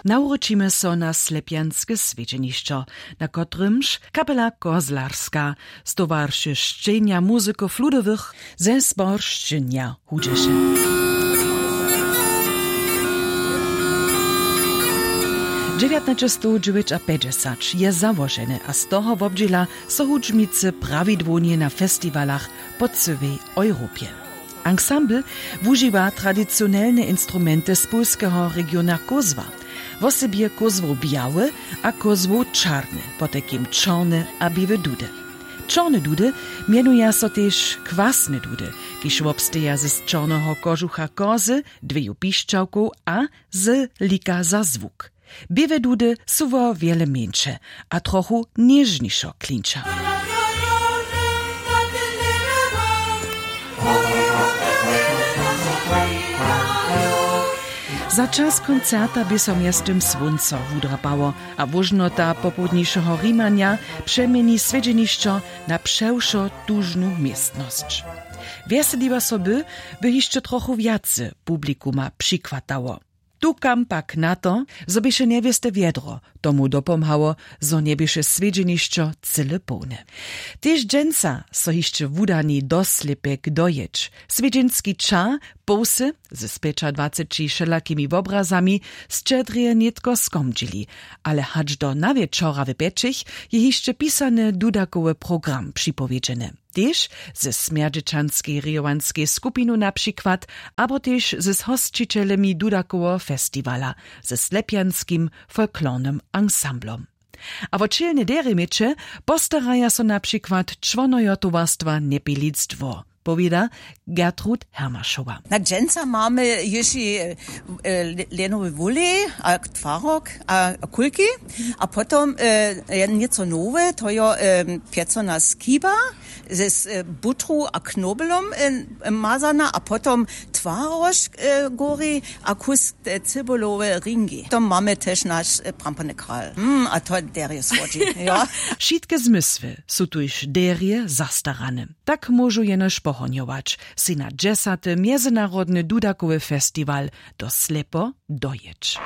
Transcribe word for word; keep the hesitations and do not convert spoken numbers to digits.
Nawróćimy so na slepjanske swjedźenišćo, na kotrymž kapela Kozlarska z towaršesćenja muzykow ludowych ze Zboršćenja hudźeše. Dźewjatnaćestowdźewjećapjećdźesać je załoženy a z toho wobdźěla so hudźbnicy prawidłownje na festiwalach po cyłej Europje. Ansambl wužiwa tradicionelne instrumenty z polskeho regiona Kózwa. Wosebje kózłow bjałe a kózłow čarne, potajkim čorne a běłe dudy. Čorne dudy mjenuja so tež kwasne dudy, kiž wobsteja z čorneho kožucha kozy, dweju pišćałkow a z lika za zwuk. Běłe dudy su wo wjele mjeńše a trochu něžnišo klinča. Za čas koncerta bě so mjeztym słónco wudrapało a wóžnota popołdnišeho rimanja přeměni swjedźenišćo na přewšo tužnu městnosć. Wjeseliłe soby by hišće trochu wjace publikuma přichwatało. Tukam pak na to, zo běše njewěste wjedro, tomu dopomhało, zo njeběše swjedźenišćo cyle połne. Tež dźensa so hišće wudani do slěpjek dojěć. Swjedźenski ča połsy z pjećadwaceći wšelakimi wobrazami sćedrje nětko skomdźili, ale hač do nawječora w pjećich je hišće pisany dudakowy program připowědźeny, tež ze smjerdźećanskej rejowanskej skupinu na přikład, abo tež z hosćićelemi dudakoweho festiwala, ze slepjanskim folklornym ansamblom. A wo ćělne derje měće postaraja so na přikład čłonojo towarstwa Njepilic dwór, powěda Gertrud Hermašowa. Na dźensa mamy hišći lenowy wulej a twarok a kulki, a potom něco nowe, to jo pjecona skiba z butru a knobelom mazana, a potom twarožk gori a kus cybulowe ringi. To mamy tež naš prampony kral. A to derje słodźi. Wšitke zmysły su tuž derje zastarane. Tak móžu jenož pohonjować sej na dźesaty mjezynarodny dudakowy festiwal do slepo dojěć.